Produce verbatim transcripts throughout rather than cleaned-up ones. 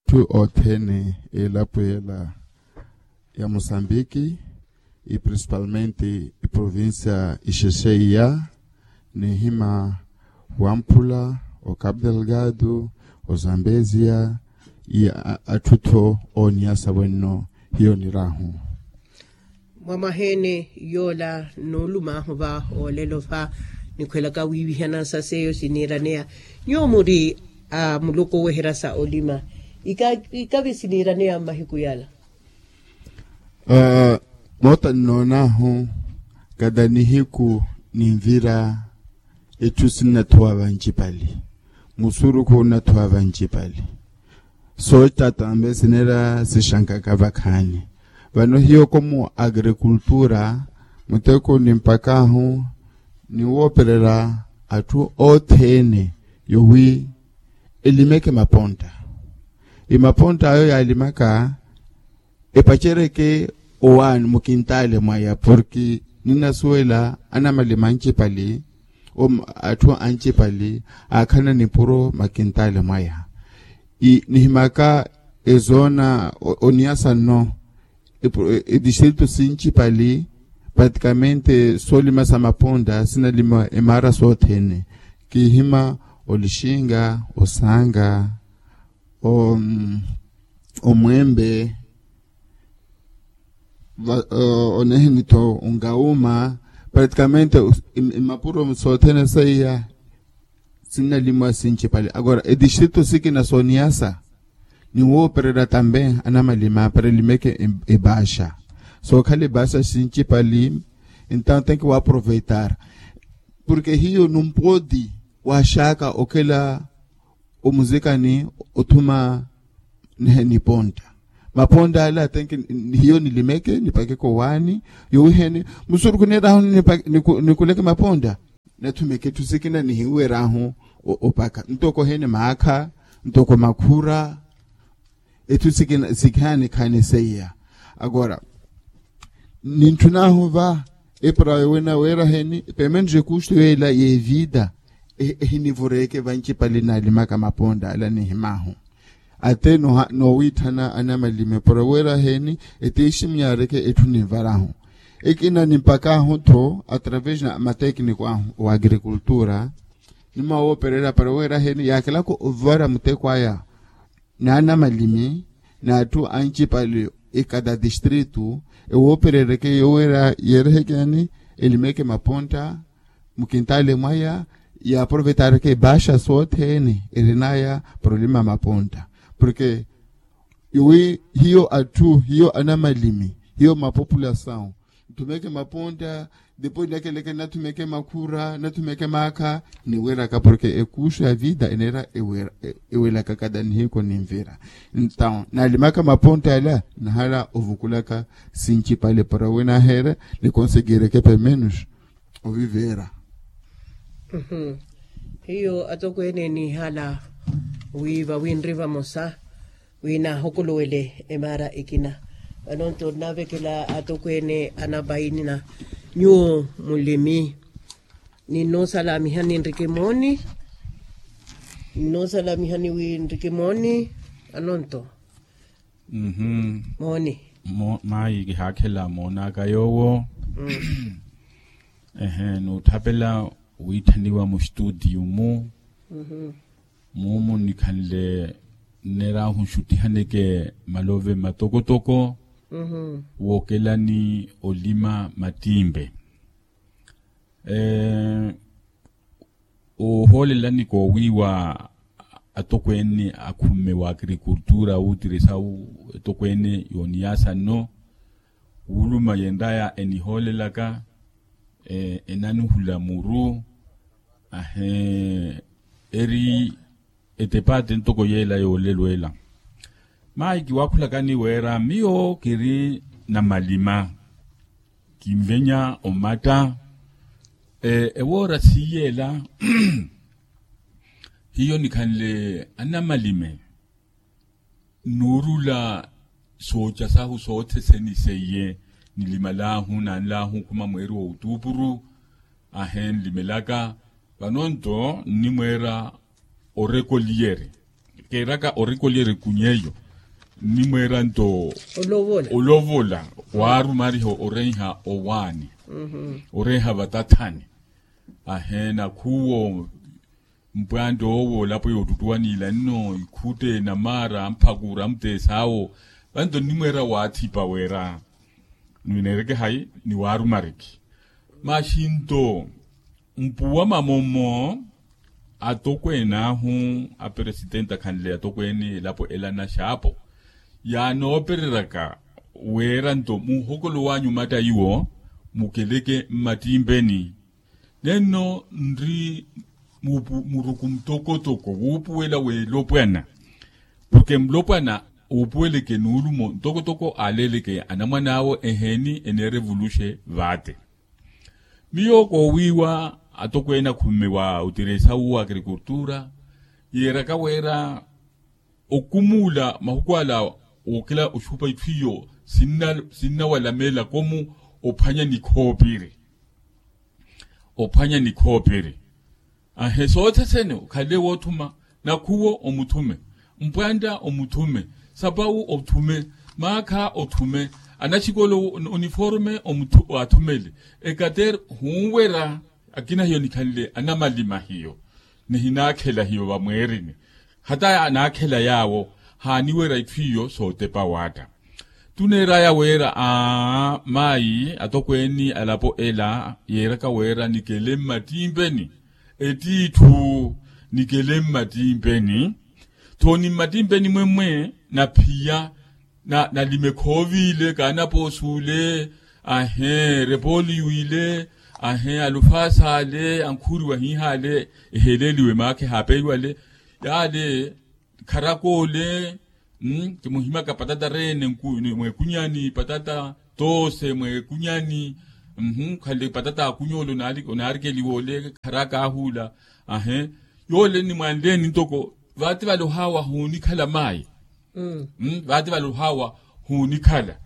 atthu othene elapo yela ya mosambiki, e principalmente e provincia ixexeiya, nihima wampula, o capo delgado, o zambezia, i atthu tho oniyasa wenno. Hiyo nirahu. Mwamwahene yola nuulumahu va olelo va nikhwelaka wiivihanansa seiyo siniiraneya. Nyuwo muri a muluku oweherya sa olima, ikavi siniiraneya mmahiku yala. Moota nnoonahu kada nihiku ninvira, etthu sinnathuwa vancipali, musurukhu unnathuwa vancipali. Soocita tambe sineera sixankaka vakhaani. Vano hiyo komu agrikultura, muteko nimpakahu niwoopererya atthu othene yowi elimeke mapontta. Imapontta ayo yaalimaka epacereke owaani mukintaale mwaya porke ninnasuwela anamalima ancipali, atthu ancipali aakhalana nipuro makintaale mwaya. Nihimaka ezoona oniyasa nno, edistritu sincipali pratikamente soolima sa mapontta sinalima emaara sothene. Kihima olixinga, osanga, omwembe, onehenitho ongauma, pratikamente imapuro sothene seiya sinnalimwa sincipali. Agora edistritu sikina sooniyasa niwoopererya tambe anamalima para elimeke ebaxa. Sookhala ebaxa sincipali, entawo tenki waaproveitar porke hiyo numpoti waxaka okhela omuzikani othuma nihe nipontta. Mapontta ala tenki hiyo nilimeke nipakeke owaani, yowiheene musurukhu neerahu nikuleke mapontta, nathumeke etthu sikina nihiwerahu opaka ntoko heene maakha, ntoko makhura, etthu sikina sikhaani khaani seiya. Agora nintthun'ahu va epara yowe naweeraheni pemene rekustu yoyela y'evida, ehinivureke vancipali naalimaka mapontta ala nihimahu. Ate noowiitthana anamalimi para weeraheni etiiximu yaareke etthu ninvarahu. Ekina nimpakahu-tho atravesi na matekniko ahu wa agrikultura, nimawoopererya para weeraheni yaakelaka ovara muteko aya n'anamalimi n'atthu ancipali ekada distritu ewooperereke yoweera yeereheke yaani elimeke mapontta mukintaale mwaya, yaaprovetareke ebaxa sothene erinaya para olima mapontta. Porke yowi hiyo atthu hiyo anamalimi hiyo mapopulasawu nthumeke mapontta, depois nakeleke nathumeke makhura nathumeke maakha, niweraka porke ekuxu ya vida eneera ewelaka kada nihiku ninvira. Entawo naalimaka mapontta ala nahala ovukulaka sincipale para winaheere nikonsegireke pemenus oviveera. Hiyo atokweene nihala wi vawinri vamosa wi nahokoluwele emaara ekina. Vano nto nnavekela atokweene anapainina nyuwo mulimi. Ninnosalamiha ninriki mooni. Ninnosalamiha niwi nriki mooni. Anonto mooni. Mayi kihaakhela moonaka yoowo. Ehe nuutthapela wiitthaniwa mustutiyu-mu. Muumu nikhanle nneerahu nxuttihaneke malove matokotoko wookelani olima mattimpe. Oohoolelani koowiiwa atokweene akhumme wa agrikultura wuutirisau etokweene yooniyasa nno wuuluma yenraya enihoolelaka enanuhula muru. Ahe eri etepate ntoko yeela yoolelo ela. Mayi kiwaakhulakani weera miyo kiri namalima kinvenya omatta. Ewoora siiyeela hiyo nikhanle anamalime nnuurula sooca sahu sootheseni seiye nilimalahu nanlahu khuma mweeri wa utuupuru. Ahe nlimelaka vano nto nnimweera orekoliyeri Keeraka orikolyerya ekunyeyo nnimweera nto olovola waarumariha orenha owaani orenha vatathani. Ahe nakhuwo mpwantto owo olapo yootuttuwa niila nno ikhutte namaara amphakura amuteesa awo. Vanto nnimweera waathipa weera nwineereke hayi ni waarumariki maxinto mpuwa mamomo. Atokween'ahu aperesitenti akhanle atokweene elapo ela naxaapo yaanoopereryaka weera nto muhokolo waanyu matta iwo mukeleke mmattimpeni. Nenno nri muruku mutokotoko wuupuwela w'elopwana. Porke mulopwana uupuweleke nuulumo ntokotoko aaleeleke anamwan'awo eheeni eneerevuluxe vaatte. Miyo koowiiwa atokweene akhummi wa otiresa uwo agrikultura yeeraka weera okumuula mahuku ala wookela oxupa itthu iyo sinnawalamela komu ophwanya nikhoopiri. Ophwanya nikhoopiri ahe soothesene okhale woothuma nakhuwo omuthume mpwanta omuthume sapawu othume maakha othume anaxikolo oniforme athumele ekater hunwera. Akina hiyo nikhanle anamalima hiyo nihinaakhela hiyo vamweerini hata anaakhela yaawo haaniwera itthu iyo sootepa waatta. Tuneeraya weera aa maayi atokweeni alapo ela yeeraka weera nikele mmattimpeni ettiitthu nikele mmattimpeni. Tho ni mmattimpeni mwemmwe naphiya nalime khooviile kaanapoosuule ahe repooli wiile ahe alufaasi ale ankhuuriwa hiihaale eheeleeliwe maakha ehaapeiwale yaale kharakoole. Kimuhimaka patata reene mweekunyani patata toose mweekunyani. Khale patata akunyole onaarikeliwa ole kharaka ahuula ahe yoole ni mwanleeni ntoko vaati vale ohaawa huunikhala maayi. Vaati vale ohaawa huunikhala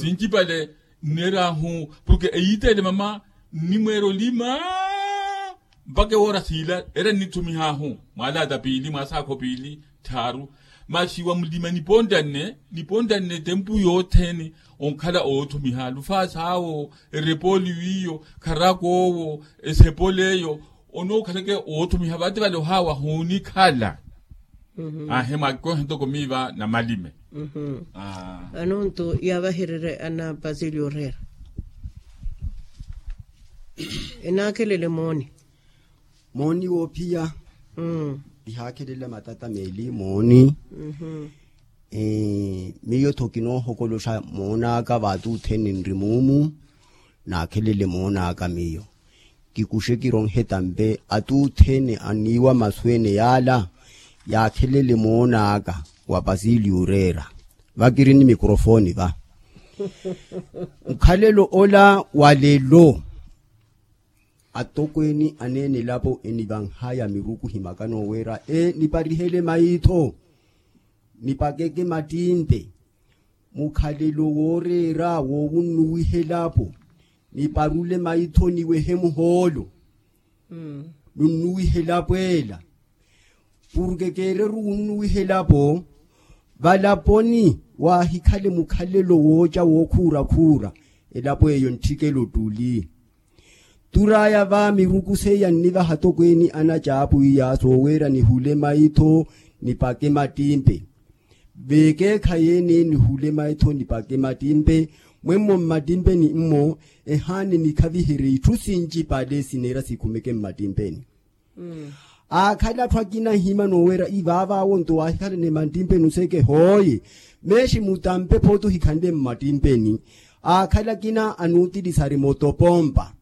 sinci pale nneer'ahu porke eyiitele mama nnimweera olima mpakha ewoora siila era nnitthumih'ahu mwaalaata piili mwaasaakho piili tthaaru. Maxi wamulima nipontanne nipontanne tempu yothene onkhala oothumiha lufaasi awo erepooli wiiyo kharaka owo esepoli eyo onookhaleke oothumiha vaati vale ohaawa huunikhala. Ahe mwaakikohe ntoko miiva namalime. Vano nto yaavahererye ana pasilyo oreera enaakhelele mooni mooni woophiya. Ihaakhelela matata meeli mooni. Miyo-tho kinoohokoloxa moon'aka vaati othene nri muumu naakhelele moon'aka miyo kikuxe kironhe tampe ati othene aniiwa masu ene yaala yaakhelele moon'aka wa pasiliyo oreera. Va kiri ni mikrofoni va mukhalelo ola wa lelo atokweeni aneene elapo enivanhaya miruku himakana oweera e niparihele maitho nipakeke mattimpe mukhalelo wooreera woowunnuwiha elapo niparule maitho niwehe muhoolo nunnuwiha elapo ela porke keereru wunnuwiha elapo valaponi waahikhale mukhalelo wooca wookhuura-khuura elapo eyo ntthikela ottuli. Tur'aya va miruku seiya nnivaha atokweeni anacaapu iya sooweera nihule maitho nipake mattimpe veekeekhayi ene nihule maitho nipake mattimpe mwemmo mmattimpeni mmo ehaani nikhaviherye itthu sincipale sineera sikhumeke mmattimpeni. Aakhale atthu akina ahimana oweera ivaavaawo nto waahikhalane mmattimpeni oseke hooye meexi mutampe phooti ohikhanle mmattimpeni aakhale akina anuutilisa ari moto pompa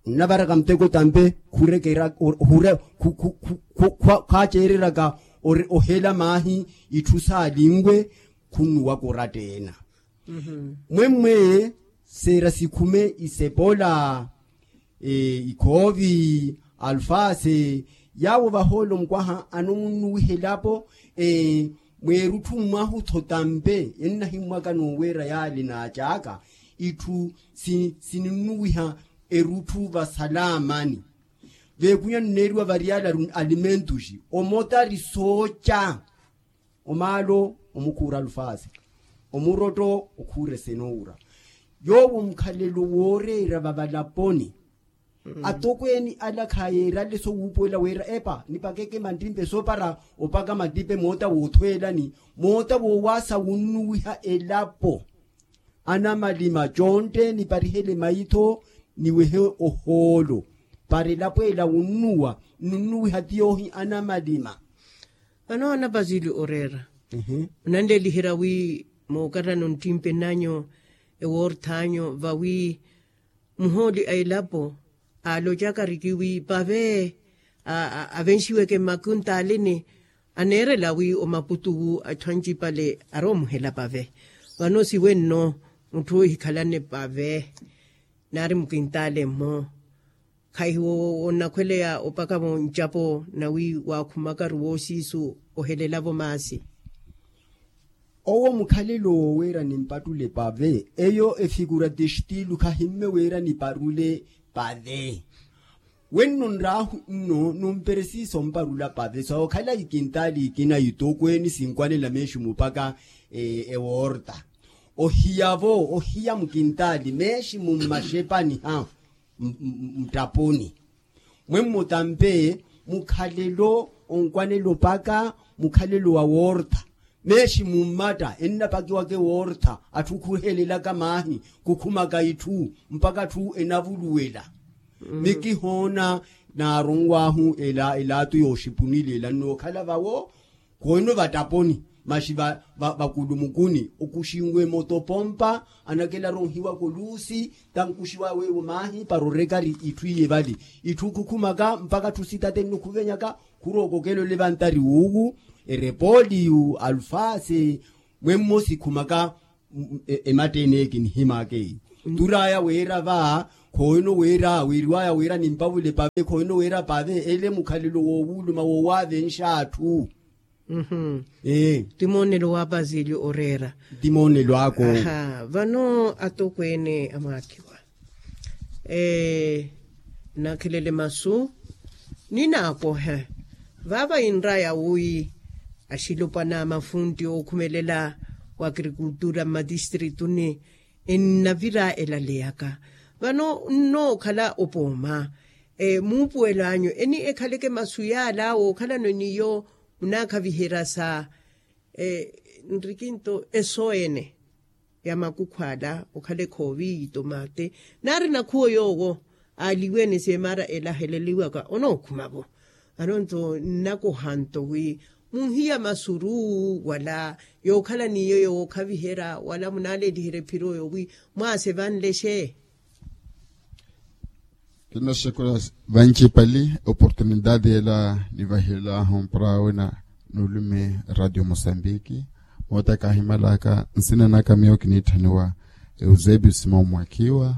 nnavaraka muteko tampe khurekeraka hure khaaceereraka ohela maahi itthu saalinwe khunnuwaka oratta ena mwemmwe seera sikhume isepola ikhoovi alfaase yaawo vahoolo mukwaha anomunnuwiha elapo mweerutthu mmwahu tho tampe ennahimmwaka nooweera yaali naacaaka itthu sininnuwiha erutthu vasalaamani Veekunya nneeriwa variyala alimentuxi omotari sooca. Omaalo omukhuura alufasi, omurotto okhuura esenoura. Yoowo mukhalelo wooreera vavalaponi. Atokweeni ala khayeerale sowuupuwela wira epa nipakeke mantimpe soopara opaka mantimpe moota woothweelani, moota woowaasa wunnuwiha elapo. Anamalima contte niparihele maitho, niwehe ohoolo para elapo ela wunnuwa nnunnuwiha ti yoohi anamalima. Vano anapasili oreera, onanleliherya wi mookarano nttimpe nanyu ewoorthanyu vawi muhooli a elapo aalocaka riki wi pave avenxiweke mmakuntalini, aneerela wi omaputuwu atthu ancipale aroomuhela pave. Vano siwenno mutthu ohikhalane pave naari mukintale mmo. Khahiwo onnakhweleya opaka vo ncapo nawi waakhumakaru woosiisu ohelelavo maasi. Owo mukhalelo wooweera nimpattule pave eyo efigura de estilu khahimme wira niparule pave. Wenno nraahu nno numperesiisa omparula pave sookhala ikintali ikina itokweeni sinkwanela meeximu opaka ewoorta. Ohiyavo ohiya mukintali meeximu mmaxepani ha mttaponi. Mwemmo tampe mukhalelo onkwanelo opaka mukhalelo wa woortha. Meeximu mmatta ennapakiwaka ewoortha atthu khuhelelaka maahi khukhumaka itthu mpaka atthu enavuluwela. Mikihoona naaronwaahu elaatu yooxipunili ela nnookhala vawo. Khohino vattaponi maxi vakulumukuni okuxinwe moto pompa anakelaronhiwaka oluusi tankuxiwa weewo maahi para orekari itthu iye vali. Itthu khukhumaka mpaka atthu sitatenno khuvenyaka khurookokela olevantari wuuwu erepooliyu alufase. Mwemmo sikhumaka ematta eneeki nihimaka eyi. Turaya wira va khohino wira wiriwaya wira nimpavule pave khohino wira pave ele mukhalelo woowuluma woowavenxa atthu. Ti moonelo wa pasili oreera. Ti moonelo ako. Vano atokweene amwaakhiwa nakhelele masu ninaakohe. Vava inraya wi axilopwana mafunti ookhumelela wa agrikultura mmatistirituni ennavira elaleyaka vano nnookhala opooma. Muupuwelo anyu eni ekhaleke masu yaala wookhalano niyo munaakhaviherya sa nrikinto eso ene ya makukhu ala okhala ekhovi yitomate naari nakhuwo yoowo aaliwene seemara ela aheleliwaka onookhumavo. Anonto nnakohanto wi munhiya masuru wala yookhala niyo yookhaviherya wala munaaleliherya ephiro yowi mwaase vanlexe. Kinoxekula vancipali oportunidade ela nivahilahu mpura wina nuulume radio mosambiki. Moota kaahimalaka nsina naka miyo kiniitthaniwa eusebio simon mwakiwa,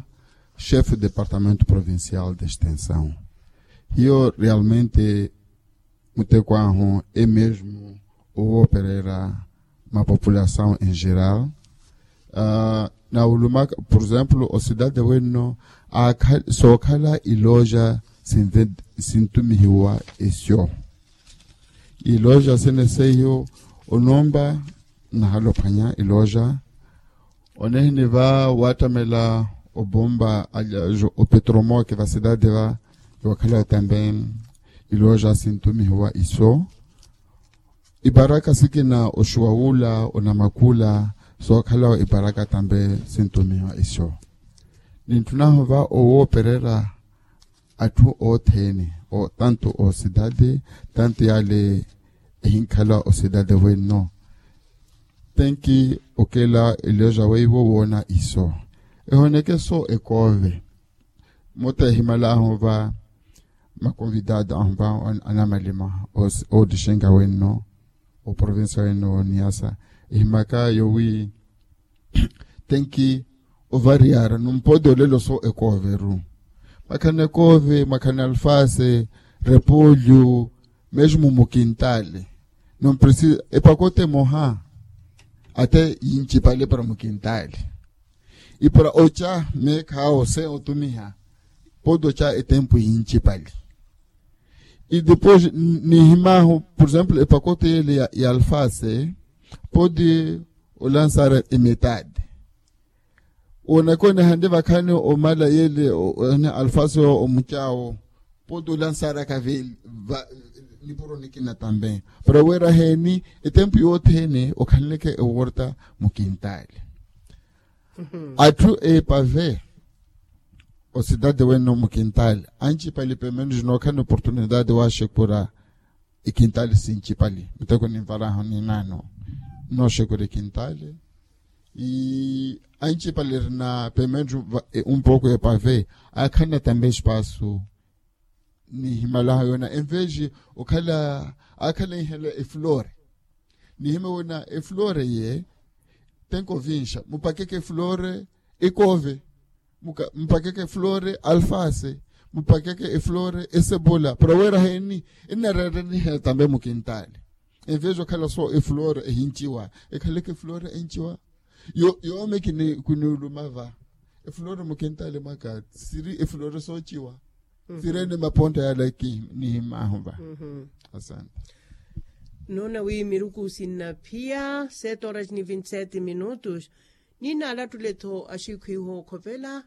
chefe departamento provincial de extensaw. Hiyo realmente muteko ahu e mesmo owooperera mapopulasaw en geral. Nawulumaka por exemplo ocidade wenno sookhala iloja sintumihiwa esyo. Iloja sene seiyo onomba nahalophwanya iloja onehini va waattamela obomba opetromoke va cidade va yookhala tambe iloja sintumihiwa iso. Iparaka sikina oxuwa wula onamakula sookhala iparaka tambe sintumihiwa iso. Ninttunahu va owooperera atthu othene tanto ocidade tanto yale ehinkhala ocidade wenno. Tenki okela elioja weiwo woona iso ehoneke so ekoove. Motta ehimalahu va makonvidado ahu va anamalima ootixenga wenno oprovincia wenno woniyasa ehimaka yowi tenki ovariyara numpode olelo so ekooveru. Mwakhana ekoove mwakhana alfase repolyo mesmo mukintale. Numpresi epakote moha ate yincipale para mukintale. Ipara oca meekhawo se otumiha podo ca etempu yincipali. E depois nihimahu por exemplo epakote yele ya alfase, pode olansara emetade. Onaka onehande vakhani omala yele alfase omucawo, pode olansara kaveli. Nipuro nikina tambe para wera heni etempu yothene okhanleke eworta mukintali. Atthu epave osidade wene mukintali ancipali pemenus nokhana oportunidade waxekura. Ikintali sincipali miteko ninvaraho ninano noxekura ikintali. Ancipali erina pementu umpoko epave akhanna tambe espasu. Nihimalaho yona enveji okhala akhala inhela eflore. Nihima wena eflore ye tenkovinxa mupakeke eflore ekove, mupakeke eflore alfase, mupakeke eflore esebola para wera heni. Ennareeranihe tambe mukintali enveji okhala so eflore ehinciwa ekhaleke eflore enciwa. Yoome kiniuluma va eflore mukintali mwaka siri eflore soociwa. Sirene maponta yala ki nihimahu va. Asante. Nona wi miruku sinnaphiya sete horas ni vinte sete minutos. Ninalattule-tho axikhwiho okhopela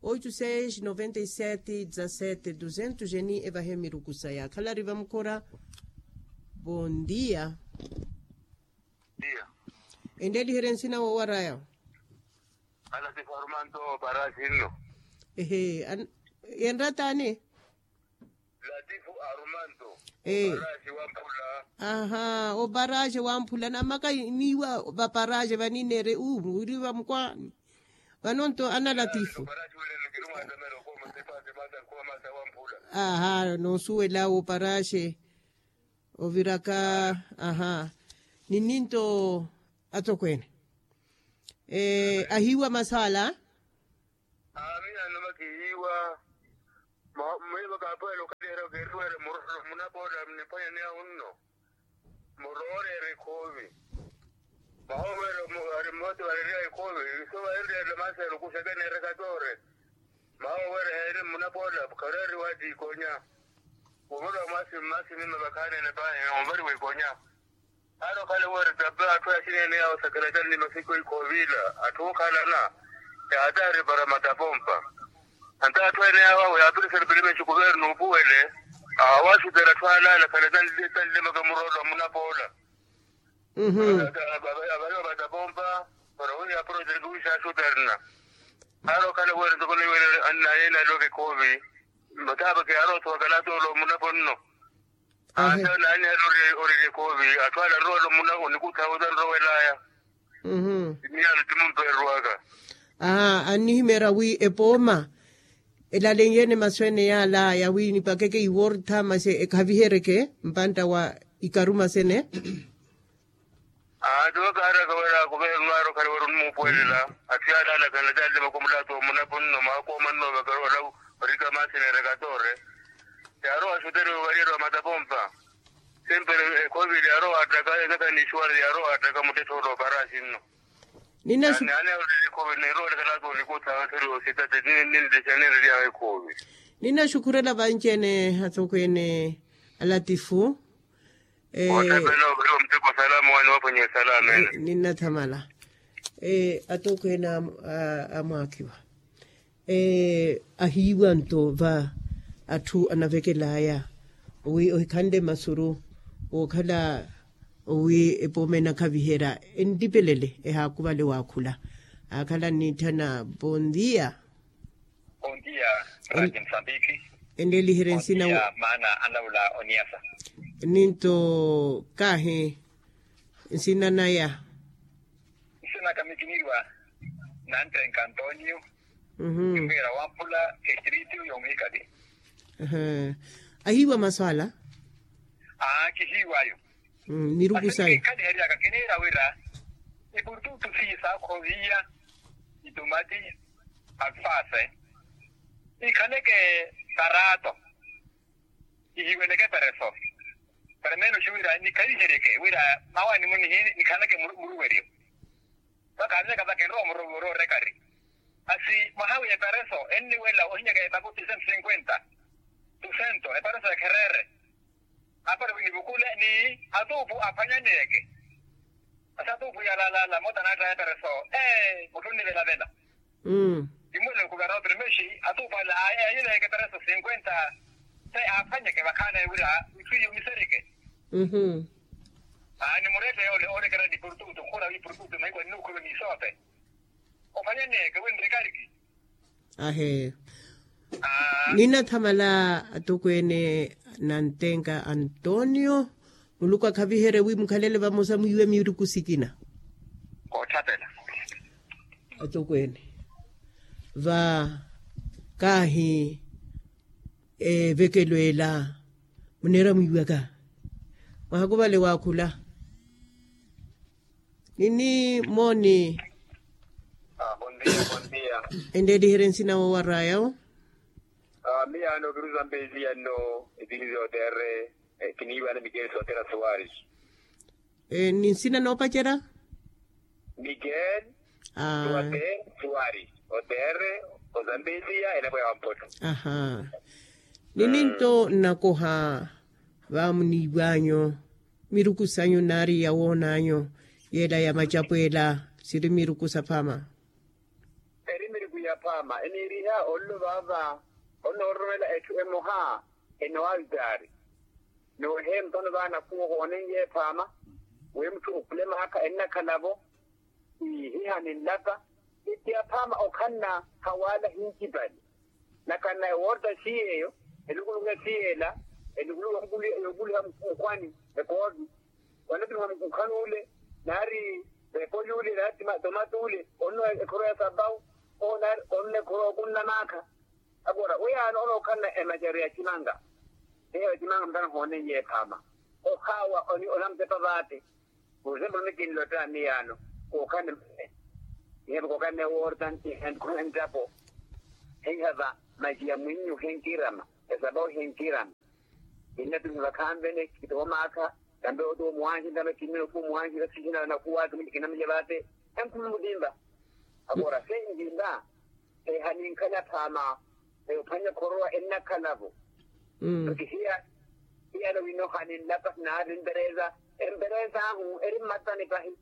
oitu seis noventa e sete dezasete duzentos jeni evahe miruku saya khalari vamukhora. Bondia. Enleliherye nsina wowaraya. Alatifu arumanto oparaxi nno. Ehe. Yenrataani. Latifu arumanto. Oparaxi wamphula. Aha oparaxi wamphula namaka niiwa vaparaxi vanineere uu wiri vamukwaani. Vanonto ana latifu. Aha nosuwela oparaxi. Oviraka. Aha. Nininto atokweene. Ahiiwa masaala. Aamiya noma kihiiwa. Mwiiva kaapuwela okhaliherya okeriwere murolo munapoola niphwanyani ahu nno. Murooreere ekhoovi. Mahoowera ari mmote varereya ekhoovi. Iso varenreerela maaselo kuxeke neereka toore. Mahoowera heeri mmunapoola khareeriwa atiikonya. Wovolowa mwaasi mmaasi nima vakhaanene paahi onvariwa ikonya. Aari okhale weri tape atthu axineene yaawo sakhela tani ni masiku ikhoovila atthu okhalana. Yaataari para matapompa. Anta atthu ene yaawo yaapirisana pilimeshi kuvernu upuwele. Awaxutela atthu alaala khale tanlimaka muroolo wa munapoola. Avariwa matapompa para wiiya projeto wiixaxuterna. Aari okhala weri ntoko niwele annayeene aloke khoovi. Mataapaki aari othuwakala toolo munapo nno. Ata naani ali orerya ekoovi atthu ale anrowela omuna onikutha ota anrowelaya. Miyaano ti mumpeererwaka. Aa annihimeerya wi epooma elalenyeene masu ene yaalaya wi nipakeke iwortha masi ekhaviheryeke mpantta wa ikaruma sene. Aa tiwo kaaraka wira akuvehe nwaari okhale wira onimuupuwelela. Atthu yaalaalakhana taalilima khumulaatu omunapo nno maakoomanno vakarola orika maasi neereka toore. Yaarowa axuteriwe ovariyeriwa matapompa. Sempere ekhovili yaarowa attaka enaka ni ixuwari yaarowa attaka muttethoolo oparaxi nno. Ninaxu. Nani ayorele ekhovili neerowelekela ata onikutha athoriwa ositate ninlexa ninreryawe ekhovili. Ninaxukhurela vanci-ene atokweene alatifu. Ottapela ovariwa muteko salama wani waphwanya esalama ene. Ninnathamala. Atokweene amwaakhiwa. Ahiiwa nto va atthu anavekelaya wi ohikhanle masuru wookhala wi epooma enakhaviherya entipelele ehaakuvale waakhula. Aakhala nniitthana bondia. Bondia. Msambiki. Enleliherye nsina maana anlaula oniasa. Ninto kahi nsina naya. Nsina kamikiniriwa nantrenka antonio. Mwiira wampula estritu yomuhikali. Ahiiwa masu ala. Aa kihiiwayo. Miruku sayo. Kikhaliheryaka kiniira wira ipututu siiyi saakhoviya itumati alfase ikhaleke karaato. Ihiweleke pereso. Peremenos wira nikhaviheryeke wira mawa nimunihi nikhanake muruweryo. Vakhaanleka vakinrowa muruweryo orekari. Asi mwaha wi epereso enniwela ohinyaka epaku ti cento cinquenta. Tu cento epereso ekhereere. Apale winivukule ni atuupu aphwanyaneyeke. Masi atuupu yalaalala mota naattaya epereso. Ee mutthu nnivelavela. Mmm. Immwele kuverotri mexi atuupu ale aayeyeleyeke epereso sinkwenta. Se aaphwanyeke vakhaana ewira itthu iyo misereke. Mmm. Aani muretteye ole oorekera ni purtutu khura wi purtutu mahiku annuukhulu ni soote. Ophwanyaneyeke winrikariki. Ahe. Ninathamala atokweene nantenka antonio. Muluku akhaviherye wi mukhalele vamosa mwiiwe miruku sikina. Koottapela. Atokweene va kaahi evekelo ela muneera mwiiwaka. Mwahaku vale waakhula. Nini mooni. Endeeliherye nsina woowaraya wo. Miyaano kiruza mpeziya nno. Etilizi otere kiniiwana mikeeli sotere asuwari. Ni nsina noopacerya. Miguel. Tuwate suwari. Otere ozambezia enapweya wampotto. Aha. Nini nto nnakoha vaamuniiwanyu miruku sanyu nari yawoonanyu yela ya macapwela siri miruku saphaama. Eri miruku yaphaama eniiriha ollo vaava. Onoororomela etthu emoha enoaltaari. Nooheempa ono vaana khuwo hoonenye ephaama. Wi mutthu okhulemaakha ennakhala-vo. Ihiha ninlaka. Itti aphaama okhanna hawaala hincipali. Nakhanna ewoorta siyeeyo elukuluku esiyeela elukuluku yookuluha mukhwani. Ekoovi wanatuluha mukukhan'ule naari vepoli ule naari tomato ule. Onno ekhoro ya sapawu. Onno ekhoro okunna maakha. Agora weyaano onookhanna emacerya ya cimanga. Eyo ya cimanga mutana hoonenye ephaama. Okhaawa onamutepa vaate. Por exemplo nikinlotta miyaano kookhanne mane. Iheve kookhanne worta ntihandikhuna ntapo. Hihava maciya mwinnyu henkirama. Esapawu henkirama. Kinnatumiha vakhanvene kitowa maakha. Tambe oto mwanhi tambe kinnina oku mwanhi vathihina nakuwaka kinamulya vaate. Enkhumi mutimba. Agora se ntimba. Ehaninkhana phaama. Eyo phwanya khorowa ennakhala-vo. Oti hiya hiyana winoha ninlapa naari mpereza. Empereza ahu eri mmatani pahi.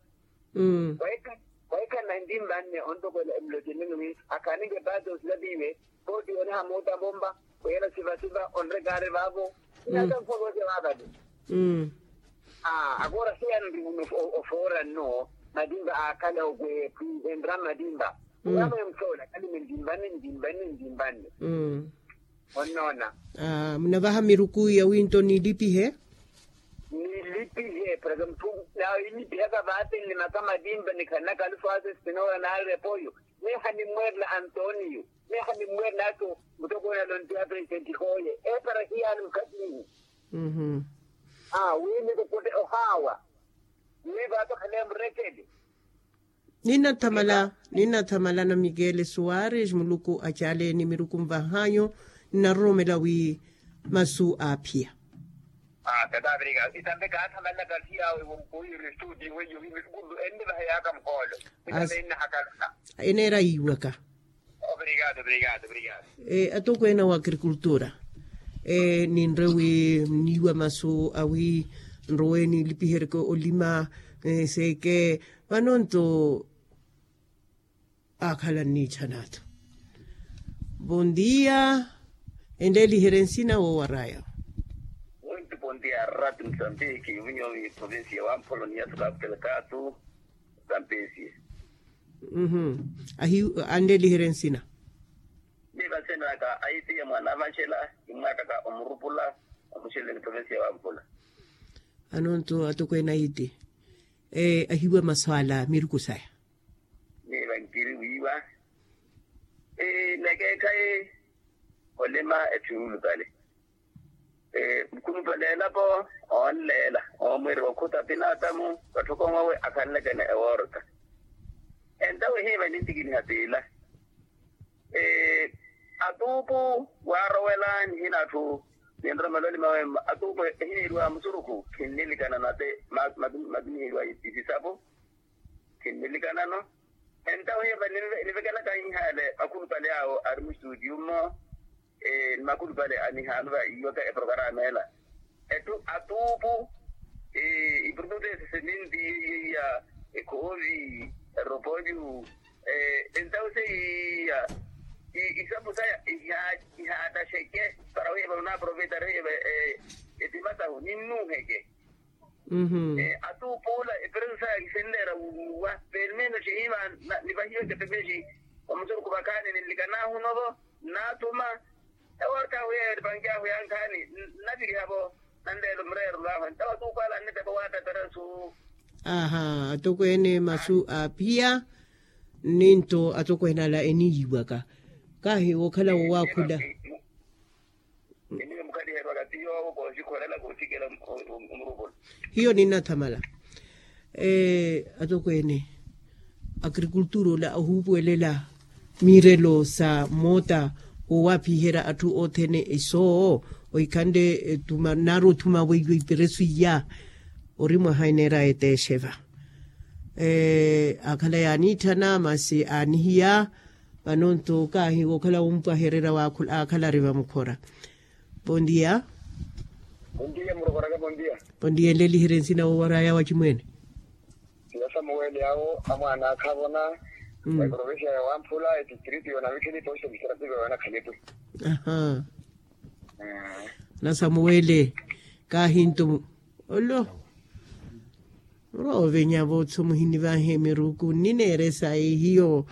Waikhanna ntimbanne ontokwela emulotini wi akhaninke paati osilapiwe. Pooti oniha muutavompa wiyela sivasiva onrekaari vaavo. Inatamfwa voose vaavale. Agora hiyana nri muno ofoora nno matimpa aakhale okweephwi enra matimpa. Urama emufoola khalime ntimbanne ntimbanne ntimbanne. Onnoona. Munavaha miruku yawinto nilipihe. Nilipihe para muthu nawe inipihaka vaate nlimaka matimpa nikhanaka alufaase spinola naari epoyo. Meeha nimmweerela antonio. Meeha nimmweerela ato mutokoona lontiya presidenti hooye. Epara hiyaani mukhatinyu. Wi nikukutte ohaawa. Wi vaate okhale murekele. Ninathamala. Ninathamala na mikele suwares muluku acaleeni miruku nvahanyu. Nnaroromela wi masu aaphiya. Tata avirika itambe kaathamalana kathi yawe wompuwiri studio weyo wi miruku nlu ennivaha yaaka mukoolo. Itambe ennahakalana. Eneera yiiwaka. Ovirikado ovirikado ovirikado. Atokweene wa agrikultura. Ninre wi mniiwa masu awi nrowe nilipiheryeke olima. Seeke vano nto aakhala nniitthana-tho. Bondia. Enleeliherye nsina woowaraya. Mwinti bondia ratu msambiki winyomi provinsi ya wampolo ni yathu kaputele katu. Kampesi. Anleeliherye nsina. Ni vasenaka aitiya mwana avanxela. Imwakaka omurupula omuxelele provinsi ya wampula. Anonto atokweene aiti ahiwa maswala miruku saya. Ni vankiri wiiwa. Nekeekhayi olima etthu yuulupale. Mukhulupale elapo oonleela oomwirya okhuta pinatamu. Vatthokowawe akhanlekene ewoorota. Entawe hiiva nintikiniha piila. Atuupu waarowela nihina atthu. Ninromela olima wemma atuupu ehiniiriwa musurukhu khinnilikana nate. Matumiheriwa isisapo khinnilikana-no. Entawe hiiva nivekelaka ihaale akhulupale awo ari mustuutiyu mmo. Ni makhulupale anihaanu va iwaka eprokarama ela. Ettu atuupu, iprodutu ese seminti, iya, ekhoovi, eropolyu, entawuse iya, isapu saya ihaattaxeke para wiiva onaaproveita riiva, etima sahu ninnuuheke. Atuupu ola epresu saya kisinleera wuwa pelmeno cihiiva, nivahiweke pemexi, omusuruku vakhaani ninlikanahu novo, nnaathuma. Ewoorthahu yeeyo nipanky'ahu yankhaani, nnaviriha-vo nanleelo mureerelo ahu entawa tuukwala annipepa waattattarasu. Aha, atokweene masu aaphiya. Nninto atokweene ala eniiyiwaka. Kaahi wookhala wowaakhula. Eniyo mukhaliherwaka ti yoowo koosikhorela koosikela. Omurupula hiyo ninnathamala. Atokweene, agrikultura ola ohuupuwelela miirelo sa moota, wowaapiherya atthu othene isoo, ohikhanle nnaari othuma weiwo iperesu iya. Ori mwaha eneeraya eteexeva. Akhala yaaniitthana masi aanihiya. Vano nto kaahi wookhala wumpwahererya waakhala ari vamukhora. Bondia. Bondia murokoraka bondia. Bondia nleliherye nsina wowaraya wacimwene. Siya samuweli awo amwaana akhavona. Eprovincia ya wamphula etistrito yona mikhini posto miserative yona khaletu. Aha. Na samuweli kaahintu olo. Muroovenya vootho muhinivahe miruku nnineeresa ehiyo.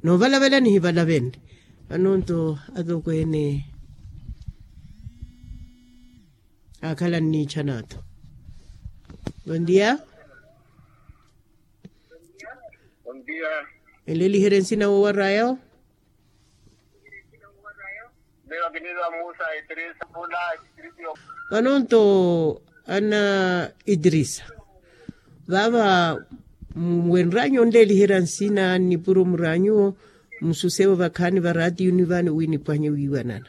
Noovalavela nihivalavenle. Anonto atokweene akhala nniichana-tho. Bondia. Bondia. Eleliherye nsina wowaraya-wo. Vanonto ana itirisa. Vava mwenranyu onleliherya nsina nnipuro muranyuwo. Mususevo vakhaani varatiyuni vani wi nipwanye wiiwanana.